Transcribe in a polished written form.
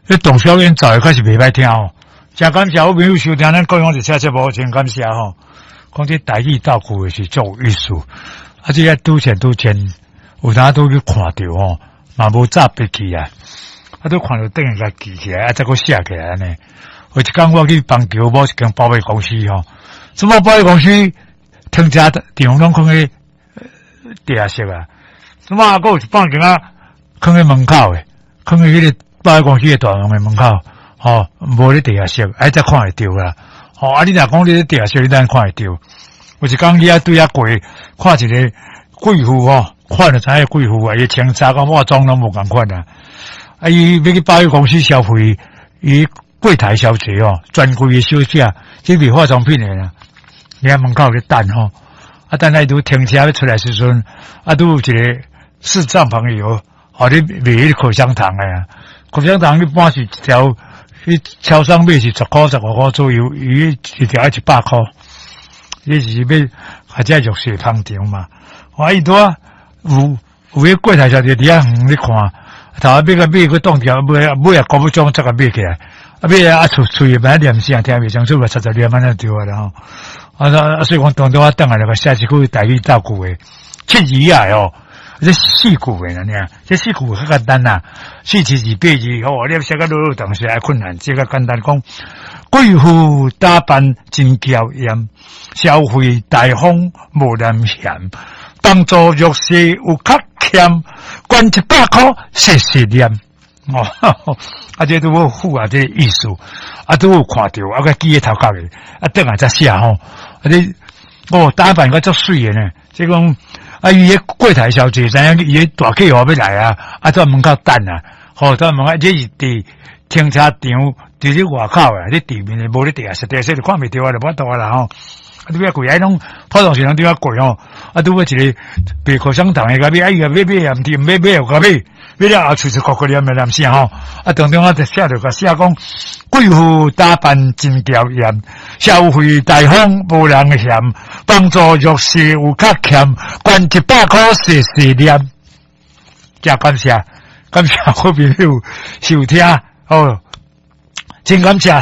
彼董小演奏的確實袂歹聽吼。誠感謝好朋友收聽咱高雄一車節目，真感謝吼。講這台語鬥句的是足有意思，啊，這个拄前拄前，有當拄去看著吼，嘛無早筆記啊，啊，拄看著轉來共記起來，啊，再閣寫起來按呢。有一工我去邦橋某一間保險公司吼，什麼保險公司停車場攏囥佇地下室啊，什麼閣有一放間仔囥佇門口的，囥佇彼個保險公司的大門的門口，吼，無咧地下室，哎，才看會著啦。吼，啊，你若講你咧地下室，你當然看會著。有一工去遐對遐過，看一個貴婦吼，看就知影貴婦啊，伊穿衫佮化妝攏無仝款啊。啊，伊欲去保險公司消費，伊櫃台小姐哦，專櫃的小姐，這賣化妝品的啦，佇遐門口咧等吼。啊，等下伊拄停車欲出來時陣，啊，拄有一個視障朋友，吼，咧賣彼個口香糖的啊。口香糖一般是一條，去超商買是10箍15箍左右，伊一條愛100箍。伊是欲或者弱勢捧場嘛。啊，伊拄仔有有彼櫃台小姐佇遐遠咧看，頭仔欲共買，閣擋掉，尾尾也顧不上，才共買起來。啊，買啊，喙喙欲念啥，聽袂清楚，嘛，雜雜念按呢對啊啦吼。啊啊，所以講當中我轉來就寫一句台語鬥句的，七字仔的哦，這四句的爾，這四句較簡單啦，四七字八字吼，你寫甲落落長是愛困難，這個簡單講，貴婦打扮真嬌豔，消費大方無廉嫌，幫助弱勢有較儉，捐100箍細細念。哦，啊，這拄好符合這個意思，啊，拄有看著，啊，閣記佇頭殼的，啊，轉來才寫吼，啊，你哦，打扮閣足媠的呢，這講啊，伊彼櫃台小姐知影伊彼大客戶欲來啊，啊，佇門口等啊，吼，佇門口，這是佇停車場，佇咧外口啊，咧地面的，無咧地下室，地下室就看袂著啊，就無法度啊啦吼。啊，拄仔過來攏普通時攏拄仔過吼，啊，拄好一個賣口香糖的共買，啊，伊若欲買也毋對，欲買又共買，買了後喙就苦苦念的念啥吼，啊，當中我就寫著共寫講，貴婦打扮真嬌豔，消費大方無人嫌，幫助弱勢有較儉，捐100箍細細念，誠感謝，感謝好朋友收聽，好，真感謝。